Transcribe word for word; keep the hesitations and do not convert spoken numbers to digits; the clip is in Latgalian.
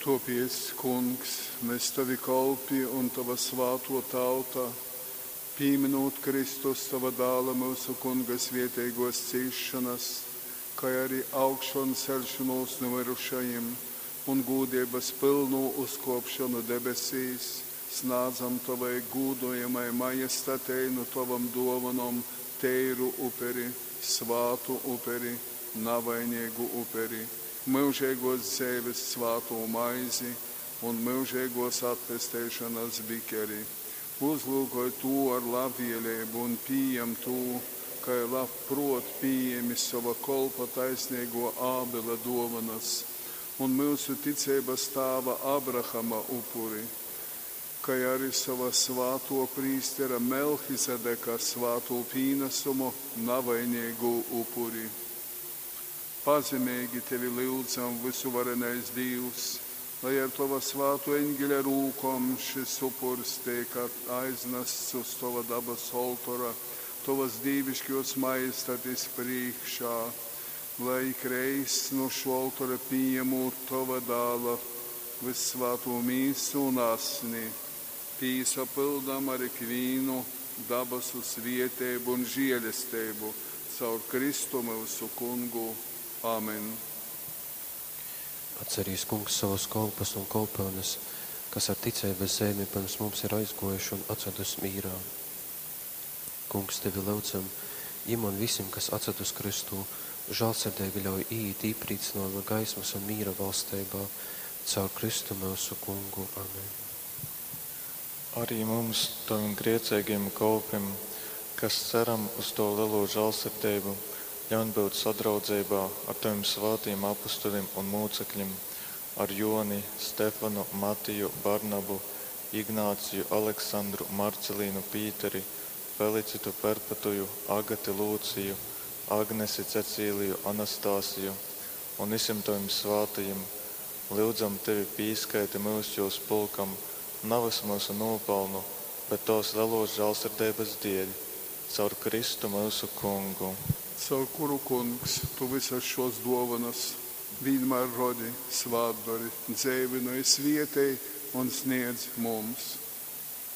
Tōpēc, Kungs, mes tovi kolpi un tova svātō tauta, pīmynūt Kristus, tova Dāla, myusu Kunga svēteigōs cīsšonas, kai ari augšonceļšonūs nu myrušajim un gūdeibas pylnū uzkōpšonu debesīs, snādzam tovai gūdojamai Majestatei nu tovom dōvonom teiru uperi, svātu uperi, navaineigu uperi, myužeigōs dzeives svātū maizi un myužeigōs atpesteišonas bikeri. Uzlyukoj tū ar labvēleibu un pījam tū, kai labprōt pījēmi sova kolpa taisneigō Ābela dōvonas un myusu ticeibas tāva Abrahama upuri, kai ari sova svātō prīstera Melchizedeka svātū pīnasumu, navaineigū upuri. Pazemeigi tevi lyudzam, vysuvarenais Dīvs, lai ar tova svātō eņgeļa rūkom šys upurs teik aiznasts uz tova dabasu oltora, tovas dīviškōs Majestatis prīškā, lai ikreiz nu šō oltora pījamūt tova Dāla vyssvātū mīsu un asni, pīsapyldam ar ikvīnu dabasu svēteibu un želesteibu caur Kristu myusu Kungu. Amen. Atcerīs, Kungs, savus kolpus un kolpyunes, kas ar ticeibas zeimi pyrms mums ir aizgōjuši un atsadus mīrā. Kungs, tevi lyudzam, jim un visim, kas atsadus Kristū, žālsirdeigi ļauj īīt īprīcynojuma gaismas un mīra valsteibā, caur Kristu myusu Kungu. Amen. Arī mums, tavim grēceigajim kolpim, kas ceram uz tovu lelo žālsirdeibu, ļaun būt sadraudzeibā ar tavim svātajim apustulim un mūcekļim, ar Joni, Stefanu, Matiju, Barnabu, Ignāciju, Aleksandru, Marcelīnu, Pīteri, Felicitu, Perpetuju, Agati, Lūciju, Agnesi, Cecīliju, Anastasiju un visiem tavim svātajim. Lyudzam tevi, pīskaiti myus jūs pulkam, navys myusu nūpelnu, bet tovas lelos žālsirdeibas dēļ, caur Kristu myusu Kungu. Caur kuru, Kungs, tu vysas šōs dōvonas vīnmār rodi, svātdori, dzeivynoj, svētej un snēdz mums.